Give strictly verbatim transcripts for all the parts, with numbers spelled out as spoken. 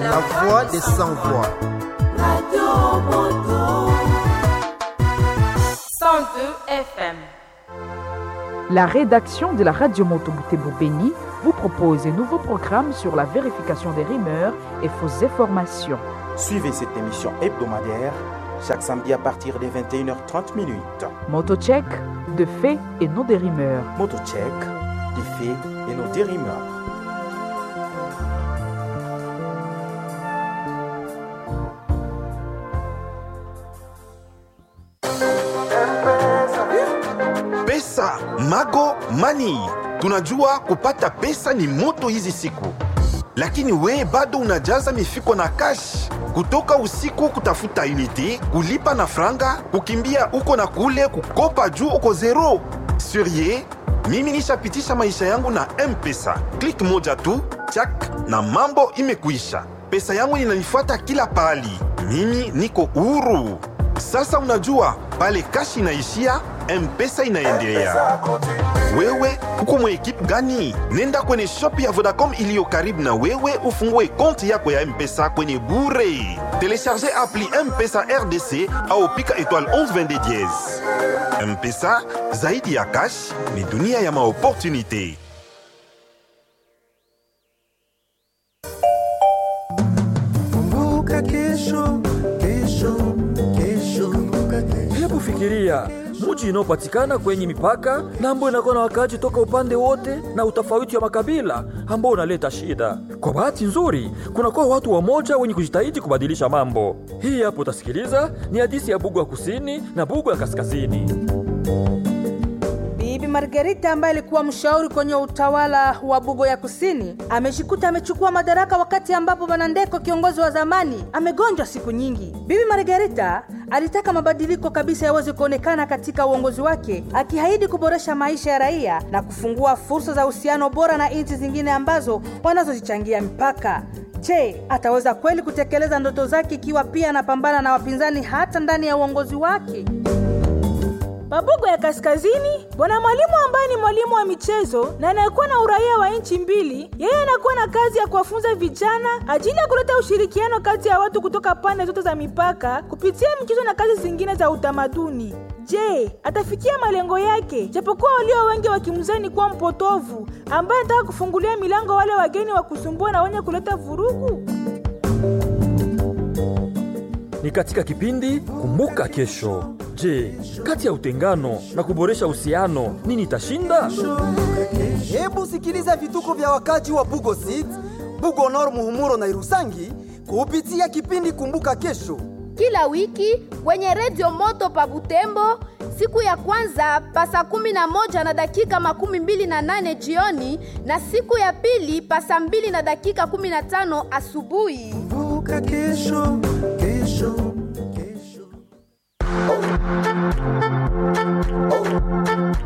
La voix des sans voix. Radio Moto. cent deux F M. La rédaction de la Radio Moto Butembo Beni vous propose un nouveau programme sur la vérification des rumeurs et fausses informations. Suivez cette émission hebdomadaire chaque samedi à partir des vingt et une heures trente minutes. Motocheck, de faits et non des rumeurs. Motocheck, des faits et non des rumeurs. Pesa, Mago, Money. Tunajua kupata pesa ni moto hizi siku. Lakini we bado unajaza mifuko na cash. Kutoka usiku kutafuta unity, kulipa na franga, kukimbia uko na kule, kukopa juu uko zero. Surie, mimi nishapitisha maisha yangu na M-Pesa. Click moja tu, chak na mambo imekuisha. Pesa yangu inanifuata kila pahali. Mimi niko huru. Sasa unajua, pale cash inaishia, M-Pesa inaendelea. Wewe uko mwa ekipe gani? Nenda kwenye shop ya Vodacom iliyo karibu na wewe ufungue konti yako ya M-Pesa kwenye bure. Telecharge appli M-Pesa R D C au pika étoile onze vingt-deux dièse. M-Pesa zaidi ya cash ni dunia ya maopportunité. Kumbuka kesho, kesho, kesho, kumbuka kesho. Hebu fikiria muji inayopatikana kwenye mipaka na ambayo inakuwa na wakaaji toka upande wote na utofauti wa makabila ambao unaleta shida. Kwa bahati nzuri, kunakuwa watu wamoja wenye kujitahidi kubadilisha mambo. Hii hapo utasikiliza ni hadithi ya Bugu ya Kusini na Bugu ya Kaskazini. Bibi Margarita ambaye alikuwa mshauri kwenye utawala wa Bugo ya Kusini amejikuta amechukua madaraka wakati ambapo Bwana Ndeko kiongozi wa zamani amegonjwa siku nyingi. Bibi Margarita alitaka mabadiliko kabisa yaweze kuonekana katika uongozi wake, akiahidi kuboresha maisha ya raia na kufungua fursa za uhusiano bora na nchi zingine ambazo wanazozichangia mipaka. Je, ataweza kweli kutekeleza ndoto zake ikiwa pia anapambana na wapinzani hata ndani ya uongozi wake? Mabugo ya Kaskazini, bwana mwalimu ambaye ni mwalimu wa michezo na anayekuwa na uraia wa nchi mbili, yeye anakuwa na kazi ya kuwafunza vijana ajili ya kuleta ushirikiano kati ya watu kutoka pande zote za mipaka kupitia michezo na kazi zingine za utamaduni. Je, atafikia malengo yake? Japokuwa walio wengi wakimzani kuwa mpotovu ambaye anataka kufungulia milango wale wageni wa kusumbua na wenye kuleta vurugu. Ni katika kipindi Kumbuka Kesho. Je, kati ya utengano na kuboresha uhusiano nini itashinda? Hebu sikiliza vituko vya wakaji wa Bugo City, Bugo Nord, Muhumuro na Irusangi kupitia kipindi Kumbuka Kesho. Kila wiki kwenye Radio Moto pa Butembo siku ya kwanza pa saa kumi na moja na dakika makumi mbili na nane jioni na siku ya pili pa saa mbili na dakika kumi na tano asubuhi. Kumbuka kesho, kesho.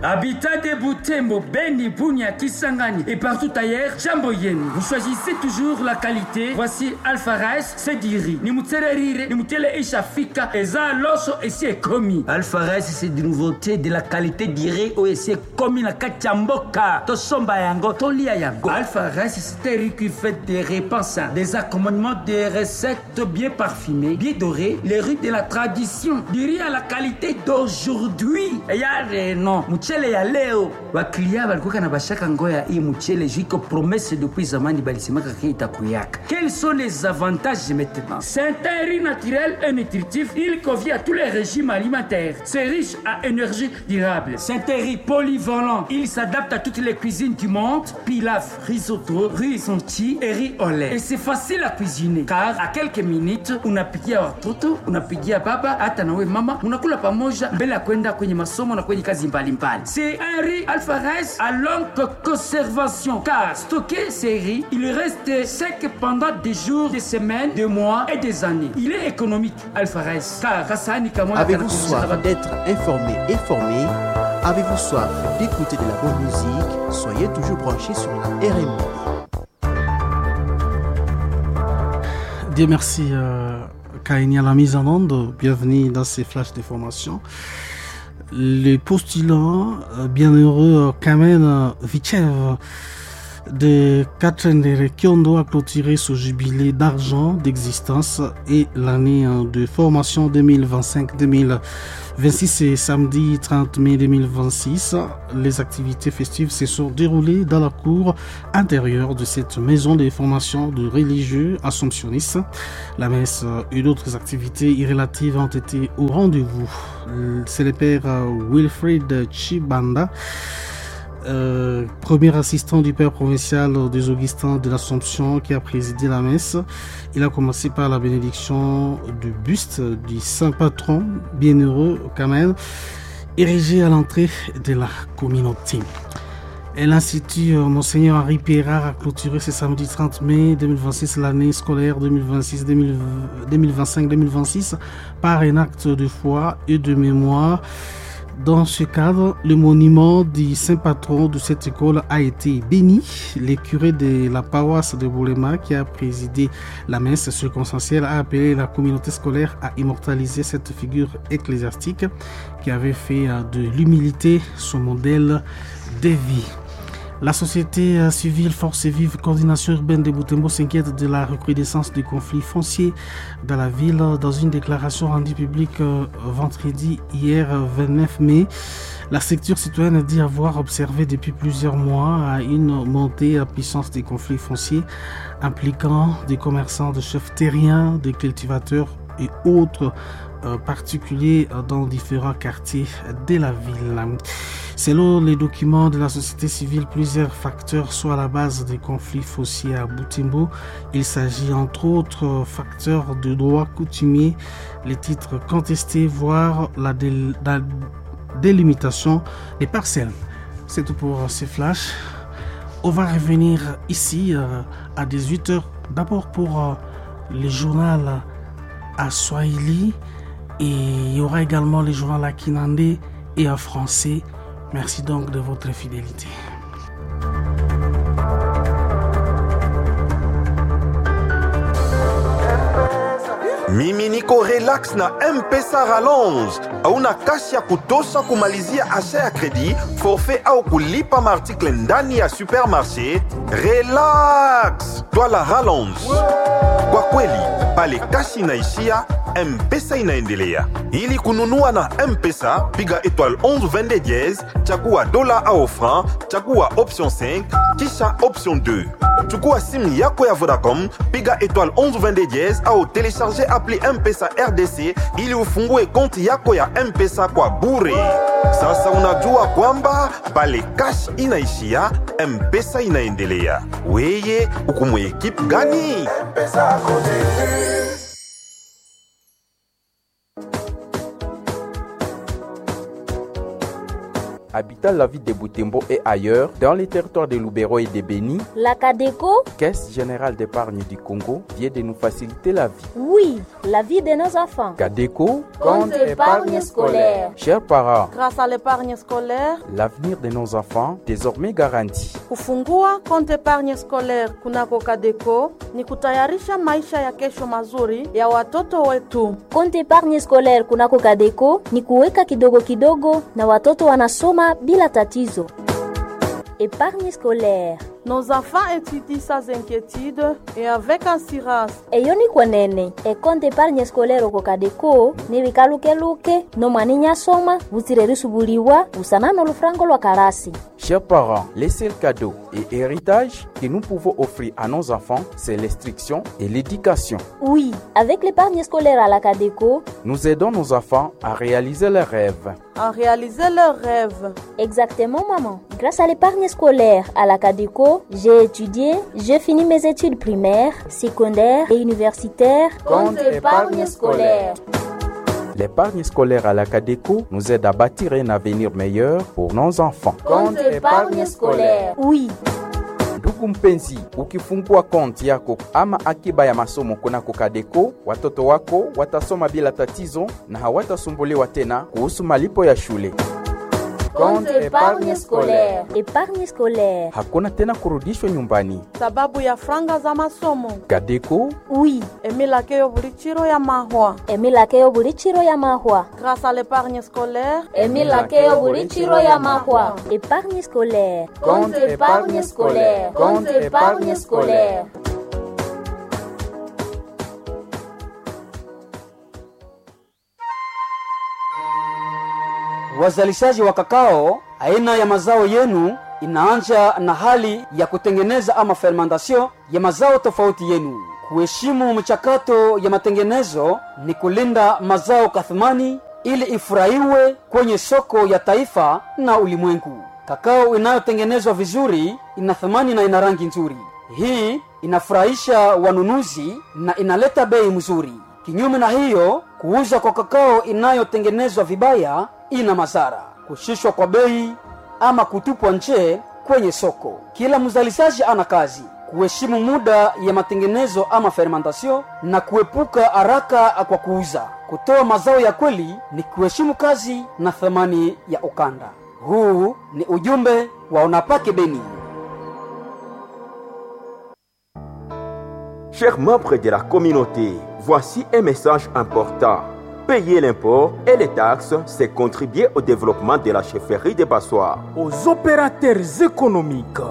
Habitat de Butembo, Beni, Bunia, Kisangani et partout ailleurs, Jambo yenu. Vous choisissez toujours la qualité. Voici Alpha Rice, c'est du riz. Ni mutele rire, ni mutele isha fika, eza loso esi ekomi. Alpha Rice, c'est des nouveautés de la qualité du riz oyo esi ekomi na kati ya mboka. Tosomba yango, tolia yango. Alpha Rice, c'est un riz qui fait des repas sains, des accompagnements, des recettes bien parfumées, bien dorées, les riz de la tradition, du riz à la qualité d'aujourd'hui. Ya reno, mchele ya leo baklia balikuwa na bashaka ngoya hii mchele jiko promesse depuis zamani balisemaka ke itakuyaka. Quels sont les avantages maintenant? C'est un riz naturel et nutritif, il convient à tous les régimes alimentaires. C'est riche à énergie durable. C'est un riz polyvalent, il s'adapte à toutes les cuisines du monde, pilaf, risotto, riz sonti et riz au lait. Et c'est facile à cuisiner car à quelques minutes unapikia watoto, unapikia baba hata nawe mama, unakula pamoja mbele ya kwenda kwenye masomo na kwenye kazi mbalimbali. C'est un riz Alpha Rice à longue conservation car stocker ces riz, il reste sec pendant des jours, des semaines, des mois et des années. Il est économique Alpha Rice car kasani kama Avez-vous soif d'être informé et formé? Avez-vous soif d'écouter de la bonne musique? Soyez toujours branchés sur la R M O. Dieu merci, euh, Kaini à la mise en onde. Bienvenue dans ces flashs d'information. Le postulant euh, bienheureux Kamen Vitchev De Katendere Kyondo a clôturé ce jubilé d'argent d'existence et l'année de formation deux mille vingt-cinq-deux mille vingt-six et samedi trente mai deux mille vingt-six. Les activités festives se sont déroulées dans la cour intérieure de cette maison de formation de religieux assomptionnistes. La messe et d'autres activités y relatives ont été au rendez-vous. C'est le père Wilfried Chibanda, euh, premier assistant du père provincial des Augustins de l'Assomption, qui a présidé la messe. Il a commencé par la bénédiction du buste du saint patron, bienheureux Kamel, érigé à l'entrée de la communauté. Et l'Institut euh, Monseigneur Henri Pierrard a clôturé ce samedi trente mai deux mille vingt-six l'année scolaire deux mille vingt-six, deux mille vingt-cinq-deux mille vingt-six par un acte de foi et de mémoire. Dans ce cadre, le monument du saint patron de cette école a été béni. Le curé de la paroisse de Boulema, qui a présidé la messe circonstancielle, a appelé la communauté scolaire à immortaliser cette figure ecclésiastique qui avait fait de l'humilité son modèle de vie. La société civile Force Vive Coordination Urbaine de Butembo s'inquiète de la recrudescence du conflit foncier dans la ville. Dans une déclaration rendue publique vendredi hier vingt-neuf mai, la structure citoyenne dit avoir observé depuis plusieurs mois une montée à puissance des conflits fonciers impliquant des commerçants, des chefs terriens, des cultivateurs et autres particuliers dans différents quartiers de la ville. Selon les documents de la société civile, plusieurs facteurs sont à la base des conflits fonciers à Butembo. Il s'agit entre autres facteurs de droit coutumier, les titres contestés, voire la, dé la délimitation des parcelles. C'est tout pour ces flashs. On va revenir ici à dix-huit heures, d'abord pour les journaux à Swahili et il y aura également les journaux à Kinande et en français. Merci donc de votre fidélité. Mimi niko relax na M-Pesa Rallonge. Hauna cash ya kutosha kumalizia achat ya crédit, forfait au kulipa maarticle ndani ya supermarché? Relax, twala Rallonge. Kwa kweli, pale cash inaishia, M-Pesa inaendelea. Ili kununua na M-Pesa, piga étoile onze vingt-deux dièse, chagua dola au franc, chagua option cinq, kisha option deux. Chukua simu yako ya Vodacom, piga étoile onze vingt-deux dièse au télécharger appli M-Pesa R D C ili ufungue konti yako ya M-Pesa kwa bure. Sasa unajua kwamba pale cash inaishia, M-Pesa inaendelea. Weye, uko mu équipe gani? M-Pesa continue. Habitant la ville de Butembo et ailleurs, dans les territoires de Lubero et de Beni, la CADECO, Caisse Générale d'épargne du Congo, vient de nous faciliter la vie. Oui, la vie de nos enfants. CADECO, compte épargne scolaire. Chers parents, grâce à l'épargne scolaire, l'avenir de nos enfants désormais garanti. Kufungua compte épargne scolaire kunako CADECO ni kutayarisha maisha ya kesho mazuri ya watoto wetu. Compte épargne scolaire kunako CADECO ni kuweka kidogo kidogo na watoto wanasoma bila tatizo. Épargne scolaire. Nos enfants étudient sans inquiétude et avec assurance. Eyo ni kwenene ekonte épargne scolaire oko CADECO nibikalukeluke nomwana inyasoma butsire risubuliwa busana n'olufrango lwa karasi. Chers parents, les seuls cadeaux et héritages que nous pouvons offrir à nos enfants, c'est l'instruction et l'éducation. Oui, avec l'épargne scolaire à la CADECO, nous aidons nos enfants à réaliser leurs rêves. À réaliser leurs rêves. Exactement, maman. Grâce à l'épargne scolaire à la CADECO, j'ai étudié, j'ai fini mes études primaires, secondaires et universitaires. Compte épargne scolaire. L'épargne scolaire à la CADECO nous aide à bâtir un avenir meilleur pour nos enfants. Compte épargne scolaire. Oui. Ndugu mpenzi, ukifungua konti yako ama akiba ya masomo kunako CADECO, watoto wako watasoma bila tatizo na hawatasumbuliwa tena kuhusu malipo ya shule. Compte épargne scolaire. Épargne scolaire. Hakuna tena kurudishwa nyumbani. Sababu ya franga za masomo. Kadeko. Oui. Emilake yo buli chiro ya mahwa. Emilake yo buli chiro ya mahwa. Grâce à l'épargne scolaire. Emilake yo buli chiro ya mahwa. Épargne scolaire. Compte épargne scolaire. Compte épargne scolaire. Wazalishaji wa kakao, aina ya mazao yenu inaanja na hali ya kutengeneza ama fermentation ya mazao tofauti yenu. Kuheshimu mchakato ya matengenezo ni kulinda mazao kathmani ili ifurahiwe kwenye soko ya taifa na ulimwengu. Kakao inayotengenezwa vizuri ina thamani na ina rangi nzuri. Hii inafurahisha wanunuzi na inaleta bei mzuri. Kinyume na hiyo, kuuza kwa kakao inayotengenezwa vibaya ina madhara: kushushwa kwa bei ama kutupwa nje kwenye soko. Kila mzalishaji ana kazi kuheshimu muda ya matengenezo ama fermentation na kuepuka haraka kwa kuuza. Kutoa mazao ya kweli ni kuheshimu kazi na thamani ya ukanda. Huu ni ujumbe wa Unapake Beni. Chers membres de la communauté, voici un message important. Payer l'impôt et les taxes, c'est contribuer au développement de la chefferie de Bassois. Aux opérateurs économiques,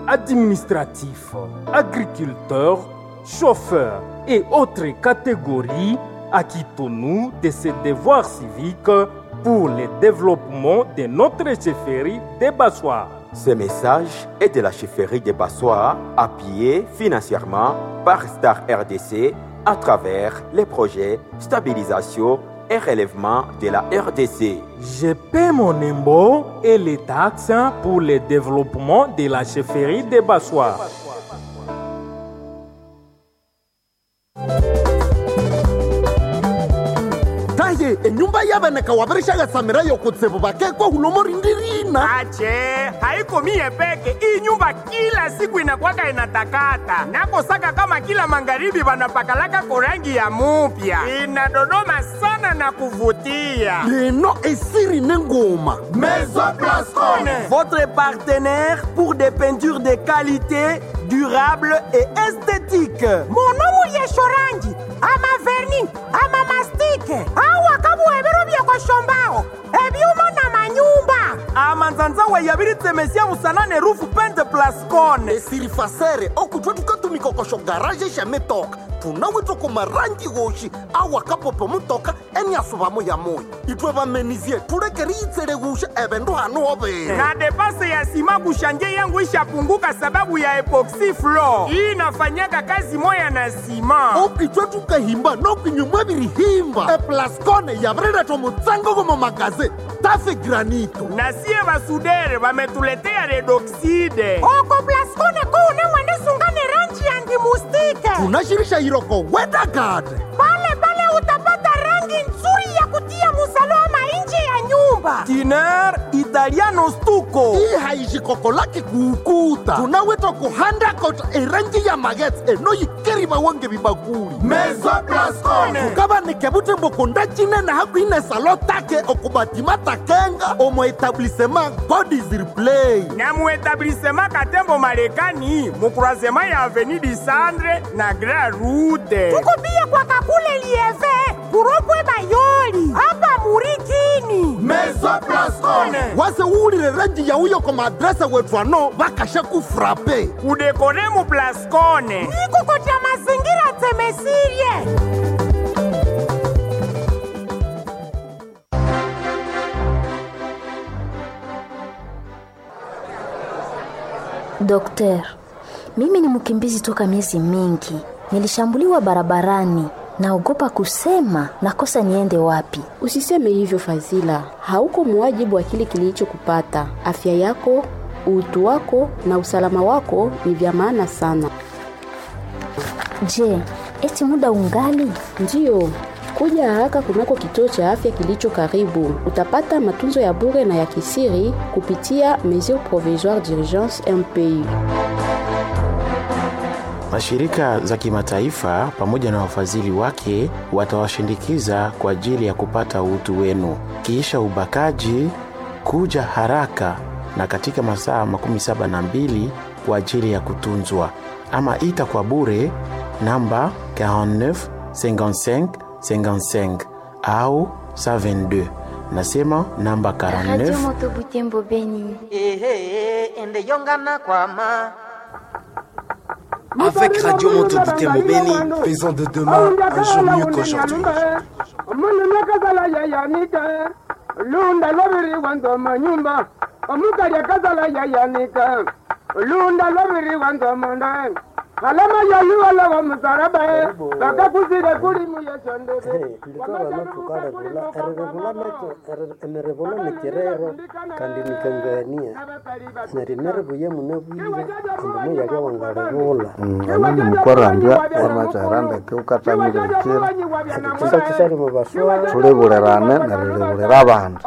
administratifs, agriculteurs, chauffeurs et autres catégories, acquittons-nous de ces devoirs civiques pour le développement de notre chefferie des Bassois. Ce message est de la chefferie des Bassois, appuyée financièrement par Star R D C à travers les projets stabilisation et relèvement de la R D C. Je paie mon impôt et les taxes pour le développement de la chefferie des Bassois. Taye, enyumba y'abaneka wabarishaga yokutsibu bakekwa hulomo rindirina. Ache, haiko mie peke. Hii nyumba kila siku inakwaka inatakata. Nakosaka kama kila magharibi wanapakalaka korangi ya mupya. Inadodoma sana na kuvutia. Leno esiri nengoma. Maison Blascone. Votre partenaire pour des peintures de qualité, durable et esthétique. Monomu yeshorangi, ama verni, ama mastike. Awa kabuhebero byekoshombaho ebyuma na manyumba amanzanzawa yabiritemesia musanane rufu pente Plascone esiri fasere okutwa tukatumikokosho garaje shametoka tunawitwa kumarangi woshi awa kapopo mutoka eniasuvamo ya moyo itwe vamenizie tulekeri itsele gusha evendu hanu hovera na depase ya sima kushanje yangu ishapunguka sababu ya epoxy floor hii inafanyaka kazi moya na sima okitwe tukahimba nokinyumwa birihimba eplascone yavireletwa mutsango gomo magaze tafe granito na sie basudere vametuletea redoxide oko Plascone kuune mwenisungane rangi ya ndimustike tunashirisha iroko wedagade pale pale utapata rangi nzuri ya kutia musalama nje ya nyumba tiner italiano stuko hii haishikoko lake kuukuta tunawetwa kuhanda kota erangi ya magets enoyikeri wange bibakuli Maison Plascone tukabanike butembo kunda chinene hakuine salo take okubatima takenga omo etablissement God is replay na mu etablissement Katembo Marekani mu croisement ya avenue du Centre na Grand Route tukupia kwa kakule lieve kuropwe bayoli hapa murikini Maison Plascone wase uwulile rangi ya uyo koma adrese wetu ano bakasha kufrape kudekore mu Plascone nikukotia mazingira temesirie. Dokter, mimi ni mkimbizi toka miezi mingi. Nilishambuliwa barabarani, naogopa kusema nakosa niende wapi. Usiseme hivyo Fazila, hauko muwajibu wa kile kilichokupata. Afya yako, utu wako na usalama wako ni vya maana sana. Je, eti muda ungali? Ndiyo, kuja haraka kunako kituo cha afya kilicho karibu. Utapata matunzo ya bure na ya kisiri kupitia Mesures Provisoires d'Urgence M P U. Mashirika za kimataifa pamoja na wafadhili wake watawashindikiza kwa ajili ya kupata utu wenu. Kisha ubakaji, Kuja haraka na katika masaa makumi saba na mbili kwa ajili ya kutunzwa, ama ita kwa bure namba quarante-neuf cinquante-cinq cinquante-cinq au cent vingt-deux. Nasema namba Radio quarante-neuf Moto Butembo Beni. Ehe, ende yongana kwama. Avec Radio Moto Butembo Beni, faisons de demain un jour mieux qu'aujourd'hui. Omundu yayanika lunda lwabiri wanzoma nyumba omukalya kazala yayanika lunda lwabiri wanzoma nda alama yaluwala wa musaraba bakakuzile kulimu yesondebe nditorana tukalevula erilevula nakyo emirevula nikirero kandi nikangania neryo emirevu munabwire ambu muyalya wangalevula anani mukwarambya wamakyahera ndeke ukatamire bukira ekisa kisali mubaswala tulebulirane nerilebulira abandi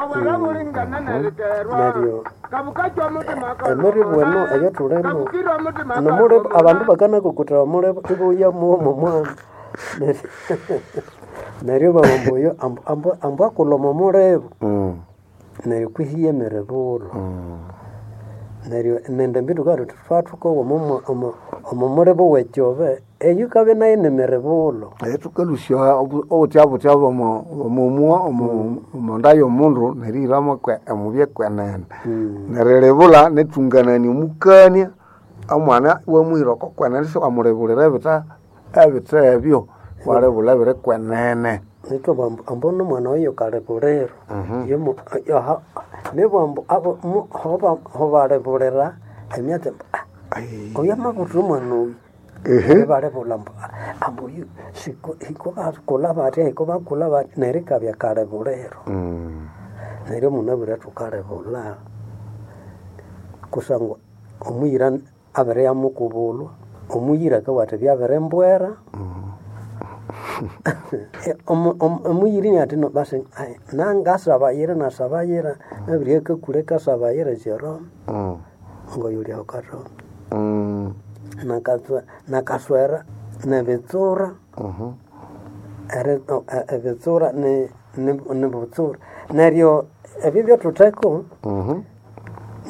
neryo emirevu eno eyatulimo nomulevu abandu bakanakukutira omulevu ibuya muwomo mwana neryo babamba oyo ambu- ambu- ambu akuloma omulevu neryo kwihiya emirevulo neryo nende mbindu kati twathukowa omo mulevu wekyobe eyo ikabe nayo nemirevulo tukalusya obutya butya omumwa omonda yomundu nerihiramo omubye kwenene nerilebula netunganania omukania omwana iwamuhira oko kwenene siwamulebulira ebita ebita ebyo walebula ebiri kwenene nitwa bambu ambu nomwana oyo kalebuliro yomu yoha nibwambu abo mu- hoba hobalebulira emyatsi mbu, "Ah, oyo amabuthira omwana oyu Ehe. balebula mbu "Ah, ambu oyu siko hiko bakula batya hiko bakula batya neryo ikabya kalebuliro neryo munabwire thukalebula kusangwa omuyira abere yamukubulwa omuyira akabugha athi byabirimbwera Omu- omu- omuyiri ati no basi ai, nangasabayira nasabayira nabiri akakule kasabayira Jerome ngoyulya ukaroma nakaswe nakaswera nebitsura eri- o- e- ebitsura ni- ni- nibutsura neryo ebyo byathutheko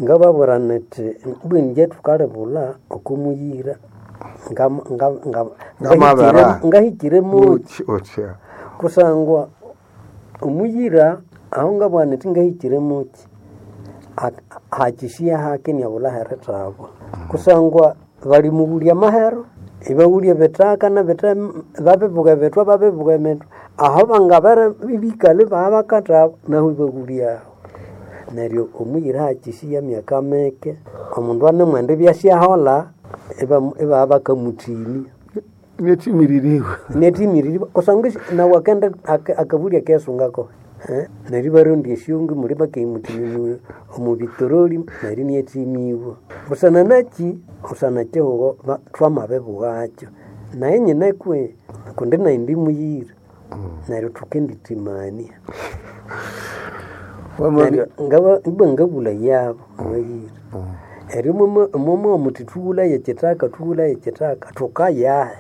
ngababwira niti bwinje thukalebula okumuyira ngam- nga- nga- Ngamabera. ngahikire- ngahikire muki otya kusangwa omuyira aho ngabugha niti ngahikire muki ha- hakishiya hake niabula herithabwa kusangwa balimughulya amahero ibaghulya ebitaka nabita babibuka ebithwa babibuka emithwa aho bangabere ibikali babakathaba nahu ibaghulyaho neryo omuyira hakishiya myaka mike omundu anemwenda ibyasyaholha iba- ibabya bakamuthimya netimiririwe netimiririwe kusangwa esi- nawe akenda aka- akabulya kesungako Eh, neryo ibarondya esyongi muli bakemuthimya omu bitoroli neryo inyathimiibwa busana naki busana kihugho ba- twamabibughakyo naye nyina kwe kundi nayi ndi muyira neryo thukendithimania Neryo ngaba ibwa ngabula yabo abayira eryo mwamuwa muthi thughulaye ekithaka thughulaye ekithaka thukayahe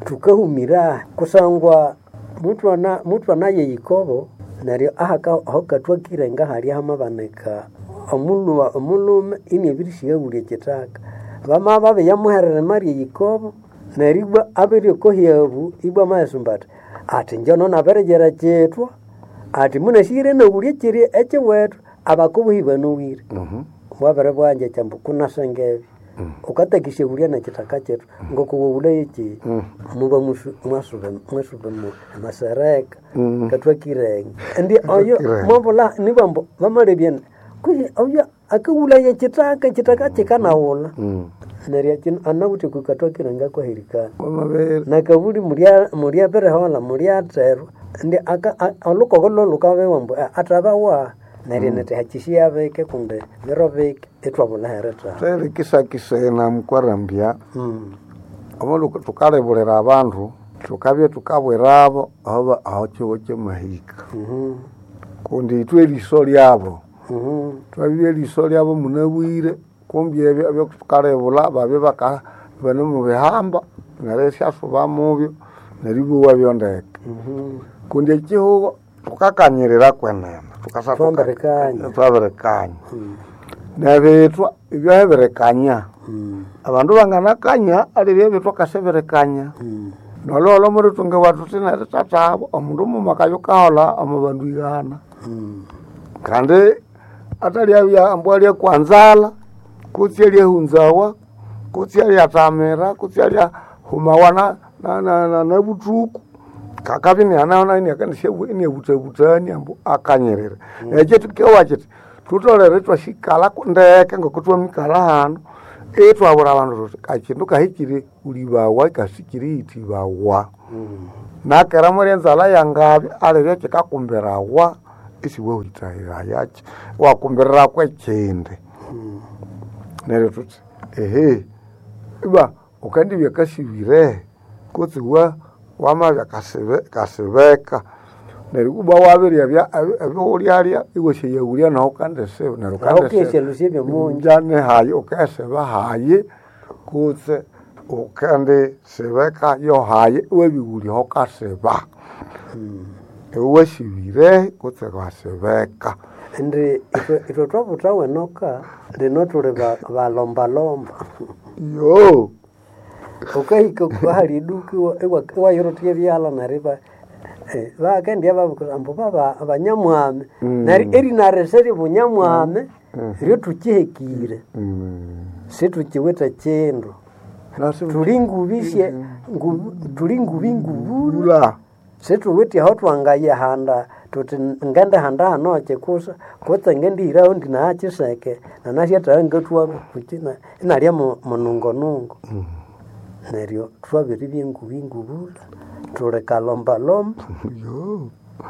thukahumirahe kusangwa muthu ana- anaye ikobo neryo ahaka ahokathwakire ngahalya hamabanika omulhuwa omulhume iniabirisighawulya ekithaka bamabya babiyamuherera emalya eyikobo neryo ibwa abiriokohyabu ibwa amayisumba athi ati njono nabiriyira kyithwa ati munasire nawulya ekiri ekiwethu abakubuhi banowire bwabere bwanja kyambu kunasenga ebyo ukatakisya wulya nekithaka kyethu ngokuwawulayo ki muba musu- mwasuba mwasuba mu masereka Mm. kathwakirenge ndi oyo Kathwakirenge. mwabula nibambu bamalebya kwihi oyo akawulaya ekithaka ekithaka kikanawula neryo kino anawithe kukatwakirenge kwahirikana nakabuli mulya mulyabirihola mulyaterwa ndi aka- a- olukoko lwolhukabewa mbu "Ah, athabawa neryo niti hakishiya bike kundi biro bike ithwabula herithawa terikisakisena mukwarambya omo thukalebulira abandu thukabya thukabwirabo aho aho kihugho kyamahika kundi ithwe eriso lyabo twabibya eriso lyabo munabwire kumbi ebyo ebyothukalebula babye baka bane mubihamba neryo isyasuba mubyo neryo ibowa byondeke kundi ekihugho Tukakanyirira kwenene tukasa Twambirikanya. Twabirikanya nebitwa ibyo abandu banganakanya alibyo ebitwa kasibirikanya nololo muritunga watu tinerithathabo omundu mumakayo kahola omu bandu igana kandi atalya ambwa alya kwanzala kutsi alyahunzawa kutsi alyatamira kutsi alyahumawa na, na, na, na, na buthuku kakabya inianaona iniabutabutani ambu akanyirira mm. Ekyo tukewa kiti tutolere twasikala ndeke ngoko twamikala hano itwabura abandu tuti kakindu kahikire ulibawa kasikire itibawa mm. Nakera muri enzala yangabi alibya kikakumbirawa isiwehitahirayaki wakumbirira kwekindi mm. Neryo tuti ehe iba ukandibya kasibire kutsi wa wamabya kasibe kasibeka neryo kuba wabirya bya ebyohulyalya iwasyayaghulya naho ukandisiba neryo Naho ukesyalusya ebyomunju. Njane hayi ukesiba hayi kutse ukandisibeka yo hayi iwabighulya aho ukasiba iwasibire kutse wasibeka Indi itwe itwe twabuthawa enoka lino tuli ba- balombalomba yo ukahika hali iduka iwayirotya ebyalha neryo iba eh, bakendya babukira ambu baba banyamwami Mm. neryo erinarese bunyamwami ryo tukihekire situkiwithe kindu tuli ngubisye ngu- tuli ngubi ngubula situwithe aho twangayihanda tuti ngendihanda hano kikusa kutse ngendihiraho ndinaakiseke nanasyathaya ngathuwa kuki na- inalya mu- munungonungo neryo twabiribya engubi ngubula tuli kalombalomba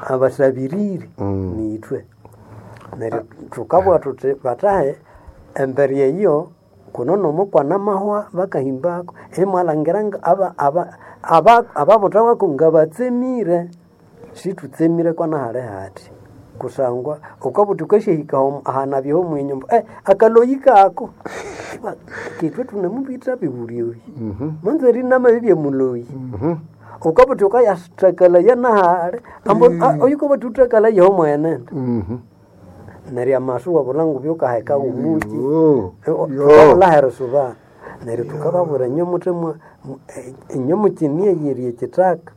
abasabiriri nithwe neryo thukabugha thuthi bathahe embere eyo kuno nomukwana mahwa bakahimbako imwalangira nga aba- aba- aba- ababutha ngabatsemire situtsemire kwana hali hati kusangwa ukabuthi ukasyahika ahanabyeho mwinyumba eh, akaloyi kako Iba, kitwe tunemubitha bibulyoyi manze rinamabibye muloyi ukabuthi ukayathakalaya nahali ambu oyu ukabuthi uthakalaya homwenene neryo amasu wabula ngubi ukaheka umuki tukabula subana neryo tukababwira inyo muthe mwa- mu- eh, inyo mukinie ekithaka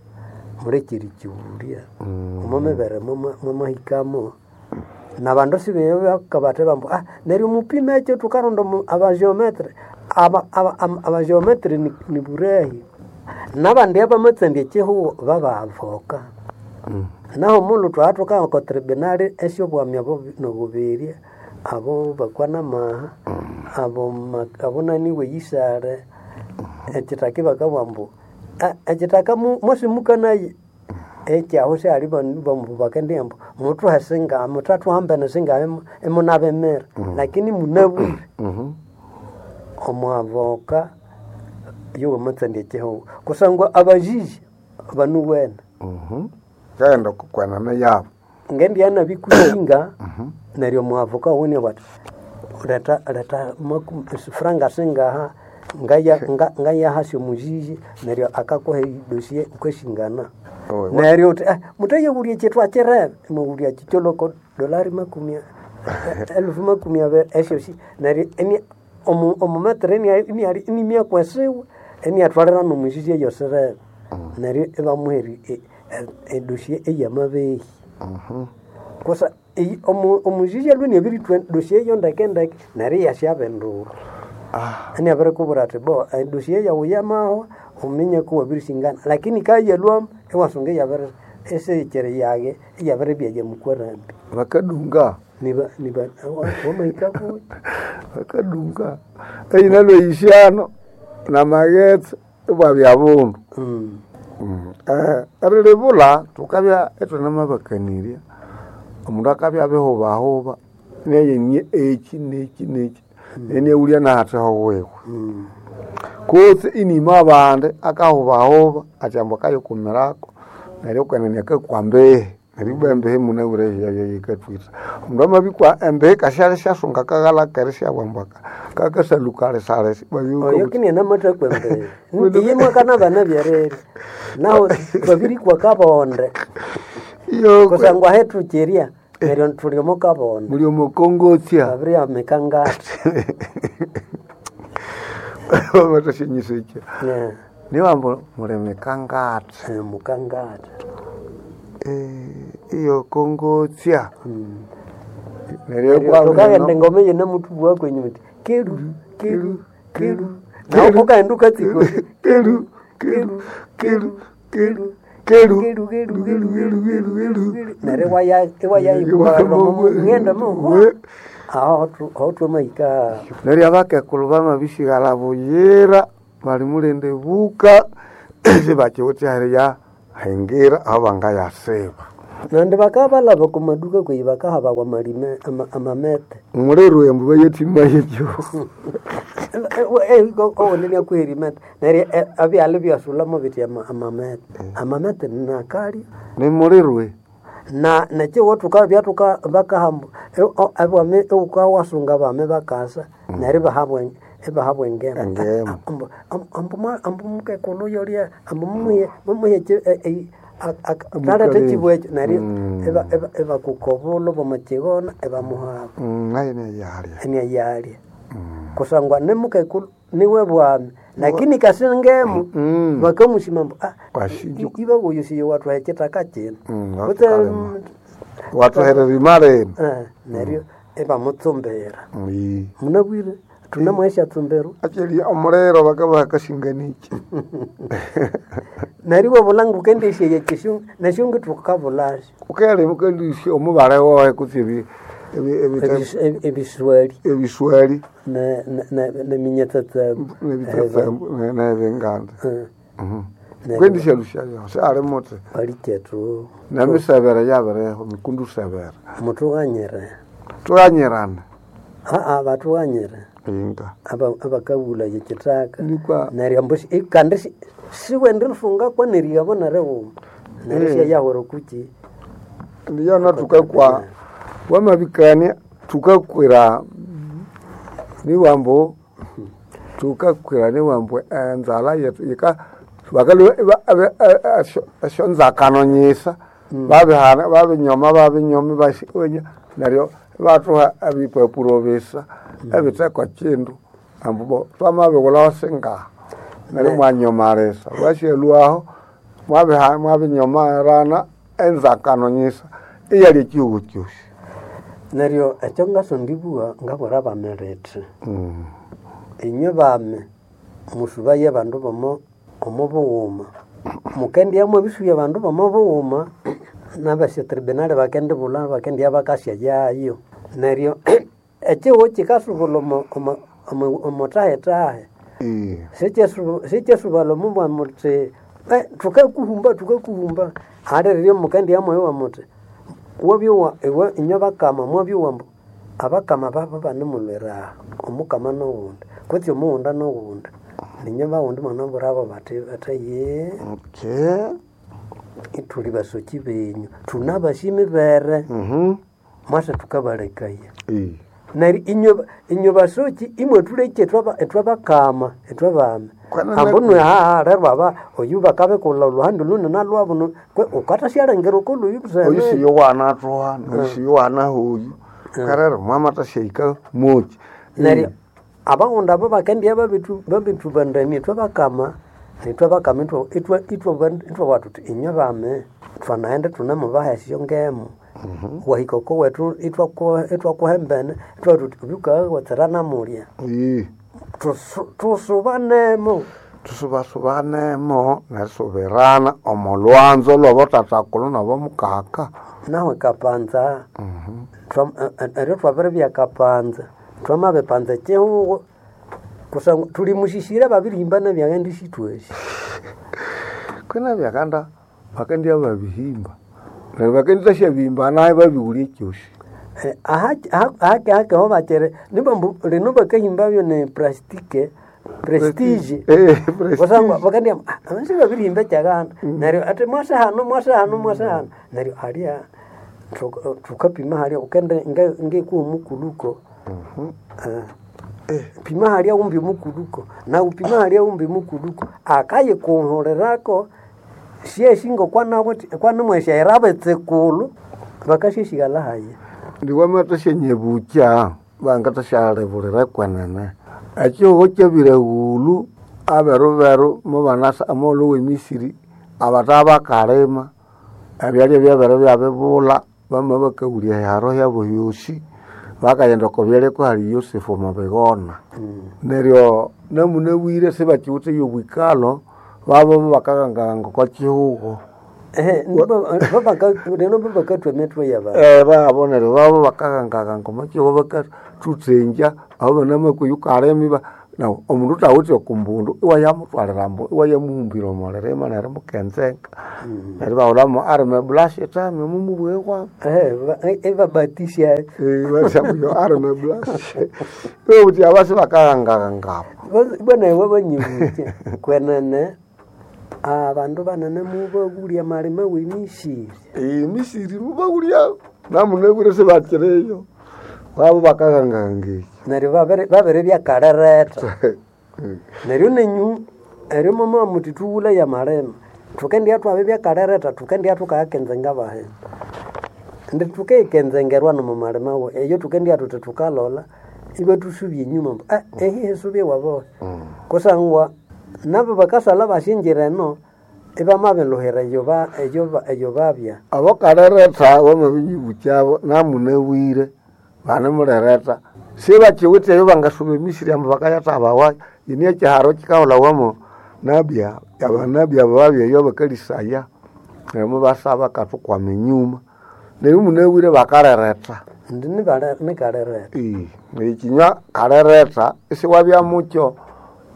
mulekere kiwulya omo mibere mwamahikamo nabandu sibeyo bakabathe bambu ah neryo mupime ekyo tukaronda omu- abageometre aba aba- am- abageometre ni, ni burehi nabandi abamatsandya ekihugo babavoka naho mundu twathuka oko tribunal esyobwami abo nobuberya abo bakwana maha abo ma- abo nani weyisale ekithaka bakabugha ambu "Ah, ekithaka mu- mwasimukanaye ekyaho syali banu bambu bakendia ambu muthuhe singahi muthathuhambene singahi imunabimira lakini munabwire omwavoka yowamatsandia ekihugo kusangwa abajiji banuwene Kaghenda kukwenene yabo ngendiana bikusinga neryo mwavoka wene bati leta leta maku- franga singaha ngaya nga- ngayahasya omujiji neryo akakuha edosie ukashingana neryo uthi eh, mutayewulya ekyethu akirebe imwawulya kikyoloko dolari makumi a- elufu makumi abiri esyosi neryo eni- omu- omumetere inimyakwesiwe eniathwalira nomujiji eyosirebe neryo ibamuha eri- e- e- edosie eyamabehi kosa eyi- omu- omujiji alwe niabirithwa dosie eyo ndeke ndeke neryo iyasyabindulha eniabirikubwira athi bo edosie yawu yamahwa uminye kuwabirisingana lakini kayalwamu iwasunga iyabiri esiyikiri yage iyabiribya yamukwarambi Bakadunga niba niba wamahika kuyi bakadunga eyina lweyisyano namaghetse ibwabya bundu Mm. Eh, erilibula thukabya ithunamabakanirya omundu akabya abihubahuba neyenie eki neki neki neniaghulya nahatheho wiwe kutse inima abandi akahubahuba athi ambu akayikumirako neryo kwenene akakwa mbehe neryo ibwa embehe munabwire yayayikathwitha omundu amabikwa embehe kasyali syasunga akaghala keri syabwa ambu aka- kakasalukalisalisi oyo kini anamathakwa embere iye mwakana bana byerere naho babirikwa kabonde Kusangwa hetuchiria neryo tuli omo kabonda. Muli omo kongotya. Babiri mikangata. Bamatashanyisa Yeah. Niwambo muli mikangata. Eh, mukangata. Eh, iyo kongotya. Neryo Tukaghenda engoma eyo namutubwa kwenyu muti keru keru keru nawe ukaghenda ukatsika keru keru keru keru keru keru keru keru keru keru neryo iwaya iwayayikubaghenda mo aho aho twamahika neryo abakekulu bamabisighala buyira bali mulende buka sibakiwithe heriya hingira aho bangayasiba nandi bakabalaba kumaduka kweyi bakahabawa amalime ama- amamete mulero embu bayetima yekyo owonene akweri mete neryo eh, abyalha byasulamo biti ama- amamete amamete nakalya nimulirwe na nekiwo tuka byatuka bakahamba abwame ukawasunga bame bakasa neryo ibahabwa ibahabwa engema Engema. Ambu- ambu- ambu- ambu mukekulu yolya ambu mumuhe mumuhe taleta ekibu ekyo neryo iba- iba- ibakukobulo bwamakighona ibamuhaba nayo neyalya eneyalya kusangwa nimukekulu niwe bwami lakini kasingemu bakamushima mbu ah, Washinja- iba uyu siyo watwaha ekitaka kino Mm, Kutse, watukalema. Watuherera imaleni eh, neryo ibamutsumbira Ii. munabwire tunamweshatsumbirwa Achili omuliro bakabakasinganiki neryo iwabulanga ukendisheya kishungu neshungu tukabulasyo ukele ukendisya omubale wowe kutse ebi- ebi- ebi- Ebis- ebi- ebiswali ebiswali ne- ne- ne- neminyetsatsambu nebitsatsambu nebinganda Neryo- kwendisya lusyayo syali muti balikyetu nemisebere yabireho mikundu sebere mutughanyire tughanyirana aa batughanyire inga aba- abakabulaya ekitaka Nikwa- neryo ambu si- kandi si- siwende rifunga kwaneriyabo neriwuma neryo Eh. syayahwera kuki ndiyona tukakwa wamabikania tukakwira niwambo tukakwira niwambo enzala yetu yika bakalwa esyonzakano nyisa babihana babinyoma babinyoma basi- neryo batuha ebipapuro bisa ebithekwa kindu ambu bo twamabighulhaho singaha neryo mwanyomalisa bwasyalwaho mwabiha- mwabinyomarana enzakano nyisa iyali ekihugo kyosi neryo ekyo ngasondibugha ngabwira abamirithi inywe bami musubaye abandu bomo omo bughuma mukendyamu ebisuya abandu bomo bughuma nabasya tribunal bakendibulha bakendya bakasya yayo neryo ekihugo kikasubula omo- omo- omo- omutahetahe sikyesubala omubwa muti "Eh, tukakuhumba tukakuhumba aliryo mukendya mwoyo muti wabyowa iwe inywe bakama mwabyowa mbu abakama babo banemulwera omukama nowundi kutse omuwunda nowundi ninye bawundi mwanabwirabo bati bati ye okay ithuli basoki benyu thunabashimibere mwasa tukabalekaya neryo inywe inywe basoki imwe thuleke ithwabakama ithwabami Kwanana- ambu nwe haha rero aba oyu bakabikulha oluhandi luni nalwabu ukathasyalengera okoluyu oyu siyo wanathuha noyu siyo wanahoyu karero mwamathasyaika moki neryo abawundi abo bakendya babitu babitubandamia ithwabakama nithwabakama ithwabwa thuthi inywe bami thwanaghenda thunemubaha esyongemu wahika oko wethu ithwaku- ithwakuhembene ithwabugha thuthi obyukawatsira namulya Ii. Tusu- tusubanemo tusubasubanemo nerisubirana omo lwanzo lwabotathakulhu nabomukaka nawe kapanza Twa- eh, eh, eryo twabiribya kapanza twamabipanza ekihugo kusangwa thulimusisire babirihimbana byaghenda isithwasi kwina byakanda bakendya babihimba neryo bakendithasya naye babighulya ekyosi Eh, aha- aha- hake hake ho bakere nibambu lino bakahimbabyo ne plastike prestige Eh, prestige. kusangwa bakandya abasi babirihimba ekyaganda neryo ati mwase hano mwase hano mwase hano neryo halya thuka- thukapima halya ukende ngekuwa mukuluko Eh, pima halya umbi mukuluko na upima halya umbi mukuluko akayikuhulirako Syeshingo kwanamwesyaira betsikulu bakasyesigala haye. Ndiwamathasyanyebucha bangathasyalibulira kwenene. Ekihugho kyabiraghulhu aberu beru mubanasa amagholho w'emisiri abatha bakalima ebyalya byabere byabibulha bama bakawulya ehiharo hyabo hyosi bakaghenda oko byalya kuhali Yosefu omo bighona. Neryo namunabwire sibakiwithe y'obwikalho babo bakaghangaghanga oko kihugho. Ehe, rero bakathwa emitwe y'abandu. Eh, babo neryo babo bakaghangaghanga omo kihugho bakathuthenja aho banamakwa yukalima iba nawu omundu thawithe okumbundu iwayamuthwalira ambu iwayamuhumbira omo lirima neryo mukenzenga. Neryo ibahulhamu arime bulashi thami omumubughe kwabo. Ehe, ibabatisya. Ibasyamuyo arime bulashi. Ibabuthi abasi bakaghangaghangabo. Bwana iwe banyibuche kwenene abandu banene mubabulya amalima w'emisiri. Emisiri mubabulya namunabwire sibakireyo. Babo bakaghangaghanga ekyo. Neryo babere babere byakalireta. Neryo nenyu eryo mama muti thughula y'amalima. Thukendya thwabe byakalireta thukendya thukayakenzenga bahe. Indi thukeyikenzengerwa nomo malima we eyo thukendya thuthi thukalola ibathusubya enyuma ambu ah ehi hisubye wabohe. Kusangwa nabo bakasalha basyingira eno ibamabiluhira eyo ba eyo eyo babya. Abakaliretha wamabinyibukyabo namunabwire banemulireta sibakiwithe eyo bangasuba emisiri ambu bakayathabawayo. Ini ekiharo kikahulhawamo nabya abanabi abo babya eyo bakalisaya neryo mubasaba bakathukwama enyuma. Neryo munabwire bakaliretha. Indi nikalireta. Ekinywa kaliretha isiwabya mukyo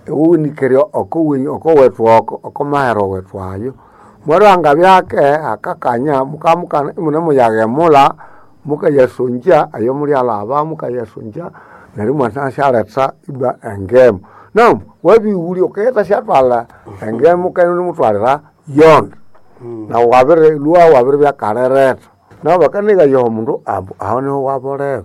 iwunikere okowenyu okowethu oko okomahero wethu ayo. Mwarihanga byake akakanya mukamukana imunemuyaghemulha mukayasongya eyo mulyalhaba mukayasongya neryo imwathasyalhetha ibwa engemu. Namu wabighulya ukayathasyatwalha engemu wukanemuthwalira yonda. Nawu wabirilhwa wabiribya kaliretha. Nabo bakanigaya omundu ambu aho niho wabolera.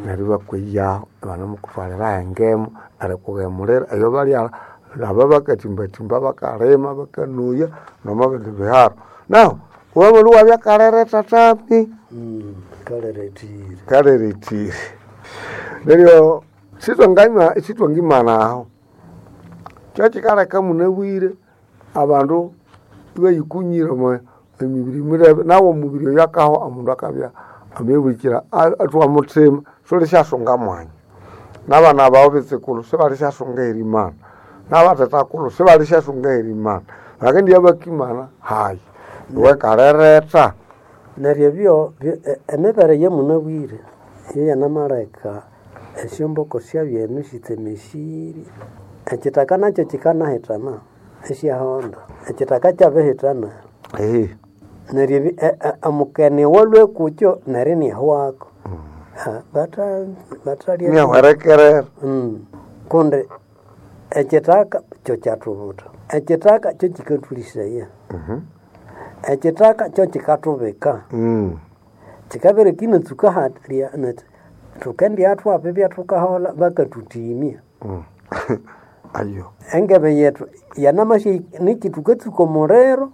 Neryo ibakweyaho ibanemukuthwalira engemu erikughemulira eyo balyalha laba bakathimbathimba bakalima bakanuya nomo bindi biharo. Nahu wamalhwa iwabya kaliretha thami. Kalirethire. Kalirethire. Neryo sithwanganywa sithwangimana aho. Kyekikaleka munabwire abandu ibayikunyira omo emibiri mirebe nawu omubiri oyo akahwa omundu akabya amabiribukira athwa muthima sulisyasunga mwanya. Nabana bawu bitsikulu sibalisyasunga erimana. Nabathethakulhu sibalisyasunga erimana. Bakendibya bakimana hayi. Iwe kaliretha. Neryo ebyo emibere y'omunabwire yo yanamaleka esyomboko syabyenu sitsemesire. Ekithaka nakyo kikanahithana isyahonda. Ekithaka kyabihithana. Ehe. Neryo omukene owalhwe kukyo neryo inihwako. Batha bathalya Inihwerekerera. Kundi ekithaka kyo kyathubutha. Ekithaka kyo kikathulisaya. Ekithaka kyo kikathubika. Kikabere kinatsuka halya nethi thukendya thwaba ibyathukaholha bakathuthimya. Ayo. Engebe yethu yanamasya niki thukatsuka omuliro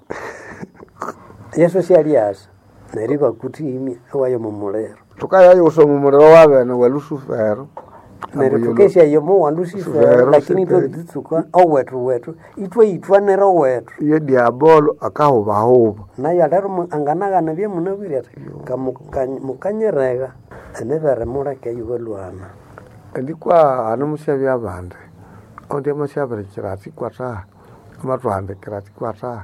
Yesu syalyasa neryo ibakuthimya iwaya omo muliro. Thukayayusa omo muliro wabene wa Lusufero. Neryo thukesyayo omo wa Lusifero lakini ithwabitsuka owethu wethu ithwayithwanira owethu. Iyo diabolo akahubahuba. Nayo lero anganaghana ebyamunabwire athi mukanyirega emibere muleke ibalhwana. Ndikwa hanu musyabya abandi oundi amasyabirikira athi kwatha amathuhandikira athi kwatha.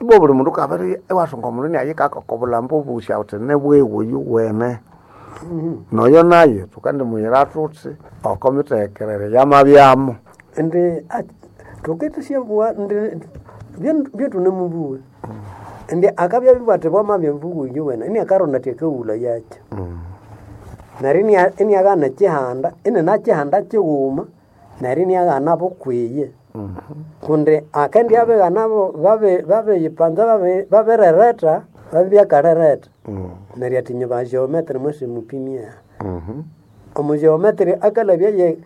Ibwa buli mundu kabiri iwasunga omundu inayikaka oko bulhambo obusi awuthi nibwiwe oyuwene. Noyo nayo thukandimuyira thuthi oko mithekere yamabyamo. Indi thukithasyabuwa indi byethunemubuwa. Indi akabya bibwatha bwamabya mbuwa oyuwene iniakaronda athi akawulha yakyo. Neryo iniaghana ekihanda ininakihanda kighuma neryo iniaghana bukwiye. Kundi akendibya abighana babiyipanza babirereta babibyakalireta. Neryo athi inye ba geometry mwasimupimya. Omu geometry akalabya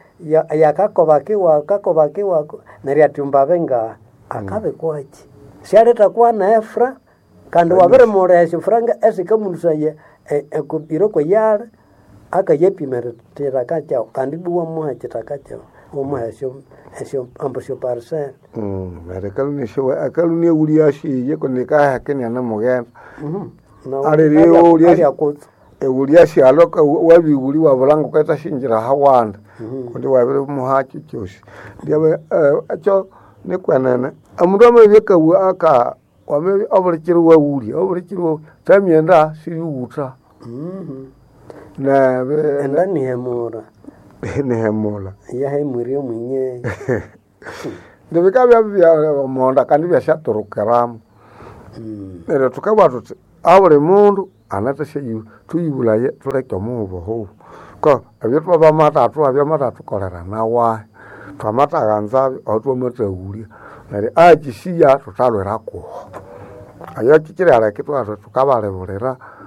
yakakoba kiwako akakoba kiwako neryo athi umbabe ngaha akabikwaki. Syaleta efra kandi wabirimulha esyo franga esikamulusaya ekobiro kweyala akayapimira kithaka kyawu kandi ibwa wamuha ekithaka kyawu wamuha esyo esyo ambu esyo parcel. Mm, neryo akaluni akaluni ashiye kundi kaheke nianamughenda ewulya syalo wabiwuli wabulanga ukatashinjira hawanda kundi wabirimuhakyo kyosi ndyabe ekyo nikwenene omundu amabya akawu aka wamabya obulikiro wawulya obulikiro thamyenda siriwutha nebe enda nihemura nihemula yahemwirye omwinyeyi ndibikabya bya kandi byasyaturukiramu neryo thukabugha thuthi abuli mundu anathasya thuyibulaye thuleke omuhubohubo ko ebyo twabamatathu abyamathathukolera nawahi twamataghanzabyo aho twamathahulya neryo akyisiya thuthalwira kuho ayo kyikyirialeka ithwathu thukabalibulira.